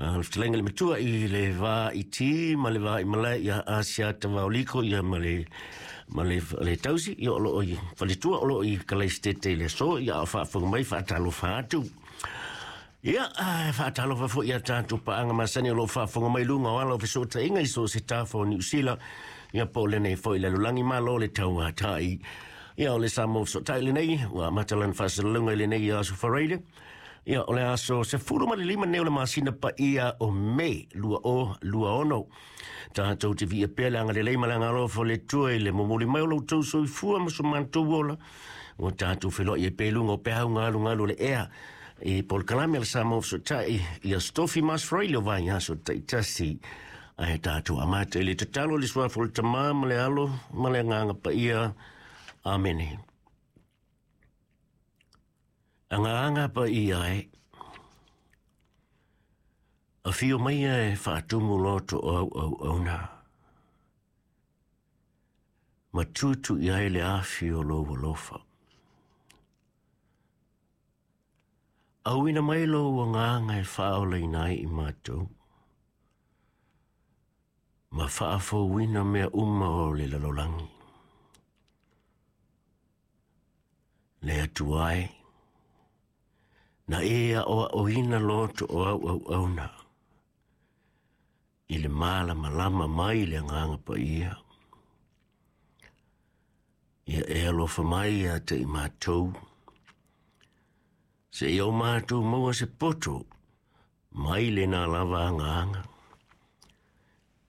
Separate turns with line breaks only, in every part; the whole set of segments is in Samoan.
Le fetalaiga i le matua i le va i ti ma le va i malae ia Asiata Vaoliko ia ma le ma le, le tausi ia o loo i faletua o loo i Kalaisitete i le aso ia a o faafofoga mai faatalofa atu. Ia, faatalofa foi ia tatou paaga masani o loo faafofoga mai luga o ala o fesootaiga i so o se tafa o Niu Sila ia po o lenei foi lalolagi malo le tauatai. Ia o le Samoa Fesootai lenei ua amata lana faasalalauga i lenei aso Faraile. Ia, o le aso 15 nei o le masina paia o Me 2026. Tatou te viia pea le agalelei ma le agalofa o le Atua i le momoli mai o lo outou soifua ma so matou ola. Ua tatou feiloai ai pea i luga o peau galugalu o le ea i polokalame a le Samoa Fesootai i Aso Tofi ma Aso Faraile o vaiaso taitasi. Ae tatou amata i le tatalo i le suafa o le Tama ma le Alo ma le Agaga Paia. Amene. Agaga paia e, afio maia e faatumu loto o au auauna, ma tutu i ai le afi o lou alofa. Auina mai lou agaga e faaolaina ai i matou, ma faafouina mea uma o le lalolagi. Le Atua e, na e aʻoaʻoina loto o au auauna i le malamalama mai le Agaga Paia. Ia e alofa mai ia te i matou, se i o matou maua se poto mai lena lava agaga,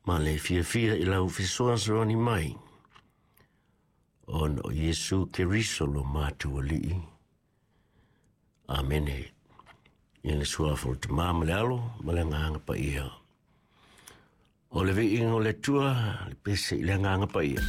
ma le fiafia i lau fesoasoani mai, ona o Iesu Keriso lo matou Alii. Amene. I le suafa o le Tama ma le Alo ma le Agaga Paia. O le viiga o le Atua, le pese i le Agaga Paia.